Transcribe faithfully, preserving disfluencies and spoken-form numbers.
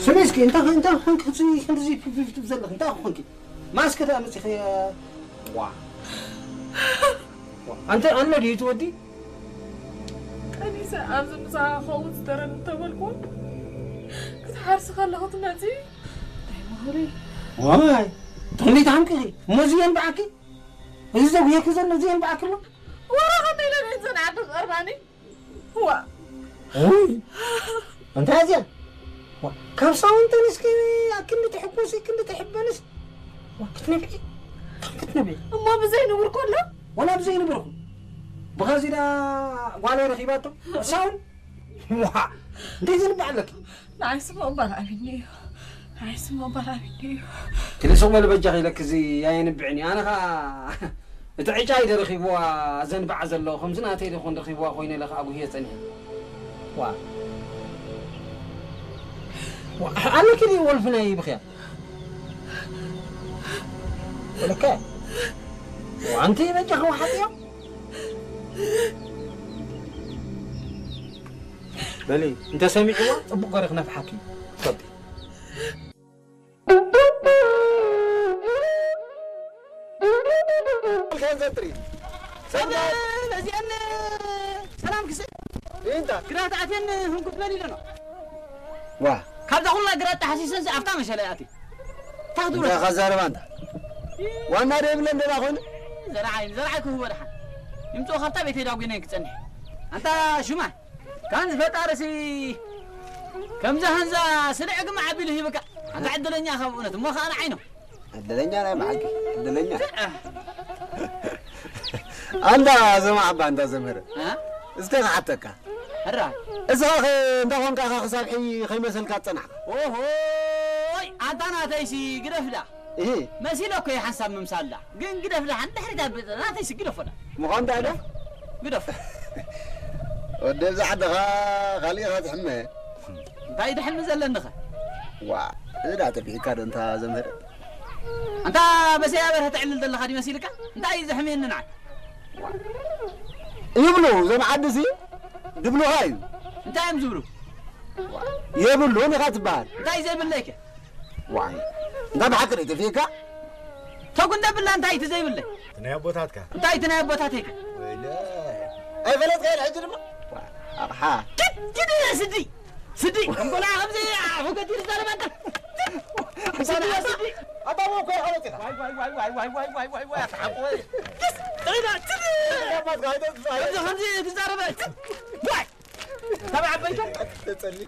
ስሜ እስኪ፣ እንታ፣ እንታ ኾንክ፣ እዚ፣ እንደዚህ ፊፍ፣ ፊፍ ትብል ዘለኽ፣ እንታ ኾንክ? ማስክ ተአምጽ፣ ዋ። ዋ። አንተ፣ አነ ዲዩ ትወዲ? ቀኒሰ፣ ኣብዚ ምሳኻ ኸውን ዝደረን እንተበልኩ፣ ክትሓርስ ከለኹ ትመጺ? እንታይ መሁሪ? ዋይ፣ ተንቤት ዓምቂ፣ ሞዚ የንብዓኪ? እዚ ዘጉየኪ ዘሎ፣ እዚ የንብዓኪ ኣሎ? ወራ ኸመይ ኢለ ቤት ዘንዓቢ ቀርባኒ? ዋ። ውይ፣ እንታይ እዚኣ? ዋ፣ ካብ ሳውንተን እስኪ ኣክንዲ ትሕኩሲ፣ ክንዲ ትሕበንስ? ዋ፣ ክትነብዒ፣ ከም ክትነብዒ። እሞ ብዘይ ንቡር ከሎ? ወላ ብዘይ ንቡርኩ። ብኸዚ ዳ ጓለይ ረኺባቶ። ሳውን? ዋ፣ እንዴት ዝንባዕ ኣለኪ? ንዓይስ እሞ እባል ኣቢኒ እዩ። ንዓይስ እሞ እባል ኣቢኒ እዩ። ክልስቕ በል በጃኺ ኢለኪ፣ እዚ ኣየንብዕን እዩ። ኣነ ኸኣ እቲ ዕጫይ ዶ ረኺብዋ ዘንብዓ ዘሎ፣ ከምዚ ናተይ ዶ ኮን ረኺብዋ ኮይነ ኢለ ኸኣ ጉህየ ጸኒሐ። ዋ። ዋ፣ ኣለኪ ድዩ ወልፊ ናይ ብኽያ? ወለከ? ዋ፣ ኣንቲ በጃኺ ወሓጥዮ? በሊ፣ እንተ ሰሚዕዋ፣ ጽቡቕ ገይረ ክነፍሓኪ። ጸቢ። ሰላም፣ እዚአን ሰላም ክሰ-፣ እንታ። ግራት ኣትየን ህንኩት በል ኢለና። ዋ። ካብዛ ኩላ ግራት ተሐሲሰን ኣፍታ መሸለ ኣቲ። ታህዱረ። እንታ ኸዛረባ እንታ። ዋና ደብለ እንደላ ኾነ። ዘርዓይ፣ ዘርዓይ ክህቦ ደሓን። ይምጽኦ ካብታ ቤተይ ዳጉነን ክጸንሕ። ኣንታ ሹማ። ካን ዝፈጣርሲ ከምዛ ሀንዛ ስልዕ ግመ ዐቢሉ ሂብካ። ኣንታ ዕድለኛ ኢኻ ብእውነት፣ እሞ ኸኣ ንዓይ ነው። ዕድለኛ ናይ ብሓቂ፣ ዕድለኛ። ኣንታ ዘማዕ እባ፣ ኣንታ ዘምህረ። እ? እስከ ክሓተካ። ሕራ። እስኻ ኸ እንተ ኾንካ ኢኻ ክሳብ ሕይ ከይመሰልካ ትጸናሕካ? ኦሆይ፣ ኣንታ ናተይሲ ግደፍዳ። እሂ። መሲለ እኮ እየ ሓንሳብ ምምሳል ዳ። ግን ግደፍ ደሓን ድሕሪት ኣብ ናተይሲ ግደፎ ዳ። ምዃን ዳ ዶ? ግደፍ። ወዲ እብዛ ዓድኻ ካልእ ኢኻ ትሕመ። እንታይ ትሕሚ ዘለንኸ? ዋ፣ እዚ ዳ ተብዒካ ዶ እንታ ዘምህር? ኣንታ በሰያ በርሀ ተዕልል ዘለኻ ዲ መሲልካ? እንታይ እዩ ዘሕምየኒ ንዓይ? ይብሉ፣ እዞም ዓድሲ ድብሉኻ እዩ። እንታይ እዮም ዝብሉ? የብሉን ኢኻ ትበሃል። እንታይ ዘይብለይከ? ዋይ፣ እንታ ብሓቂ ርኢቶ ፊካ? ተጉ እንደ ብላ እንታይ እቲ ዘይብለይ? እቲ ናይ ኣቦታትካ? እንታይ እቲ ናይ ኣቦታተይከ? ወይለ። ኣይፈለጥካዮን ሕጂ ድማ? ዋ፣ ኣቕሓ። ኪድ፣ ኪድ ስዲ። ስዲ፣ እንበላ ከምዚ ኣፉ ገዲር ዛረባ እንተ። ስዲ፣ ስዲ። ኣታ ወኮ ይኸለጥ ኢኻ። ዋይ፣ ዋይ፣ ዋይ፣ ኣታ ሓቆ ወይ። ኪስ፣ ተይዳ፣ ስዲ። ኣባትካ ኣይተውጽእ። ከምዚ፣ ከምዚ ትዛረበ። ዋይ። ተባዕ በይተ። ተጸሊ።